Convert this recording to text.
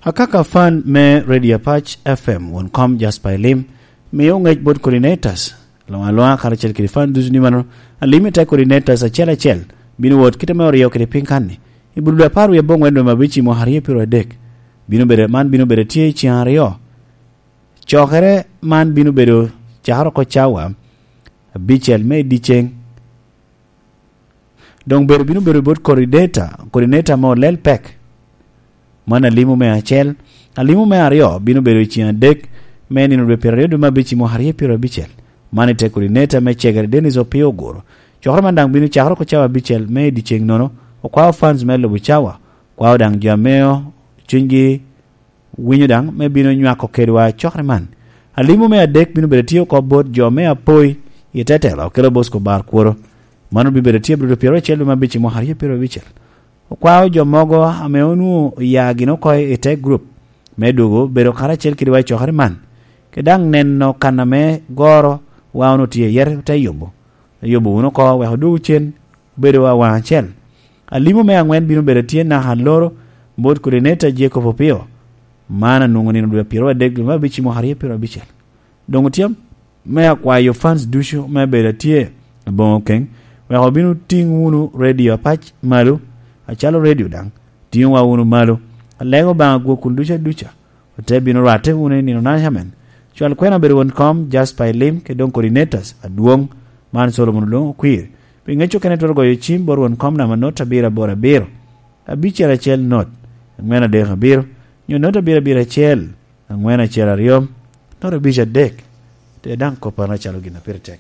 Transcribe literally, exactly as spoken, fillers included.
Akaka fan me Radio Apac F M, won kom Jasper Elim, mio ŋec bot coordinators, luŋ aluŋa karacel kede fan ducu ni mano, alim i te coordinators acel acel, bino wot kite me oryo kede piny kanni. I Bululu apar wie aboŋwen dwe me abic i mwaka aryo pyero adek, bino bedo, man bino bedo tye i ceng aryo. Cokere man bino bedo cakere oko cawa abicel me i dyeceng. Doŋ bedo bino bedo bot coordinator, coordinator ame olel pek. Man alimo me acel. Alimo me aryo bino bedo i ceng adek me nino dwe pyero aryo dwe me abic i mwaka aryo pyero abicel. Man i te coordinator me cegere Dennis Opio Oguro. Cokere man daŋ bino cakere oko cawa abicel me i dyeceng nono. Okwao fans me lubo cawa. Kwao daŋ jo ame cunygi winyo daŋ me bino nywako kedwa cokere man. Alimo me adek bino bedo tye oko bot jo me apoi i te telo, kelo Bosco Bar Kworo. Mano bibedo tye brudo pyero acel dwe me abic i mwaka aryo pyero abicel. Okwao jo mogo ame onwoŋo oya gin oko i te grup me dwogo bedo karacel kedwa i cokere man, ke daŋ neno kan ame goro wa onwoŋo tye iye, te yubo, yubo wunu oko wek odwogo cen obedo awaŋ acel. Alimo me aŋwen bino bedo tye naka aloro bot coordinator Jacob Opio. Man anwoŋo nino dwe pyero adek dwe me abic i mwaka aryo pyero abicel. Doŋ otyem me akwayo fans ducu me bedo atye aboŋo keŋ, wek obino tiŋ wunu Radio Apac malo, acalo radio daŋ tiŋowa wunu malo. Alego Obaŋa gwok kun duca duca, ote bino rwatte wunu i nino naca men. Cwal kwena obedo won kom Jasper Elim, kede doŋ coordinators adwoŋ, man Solomon Olwoŋo Okwir. Pi ŋec okene twero goyo cim bot won kom namba not abiro aboro abiro, abicel acel not, aŋwen adek abiro, nyo not abiro abiro acel, aŋwen acel aryo, not abic adek. Te daŋ kopporo acalo gin a pire tek.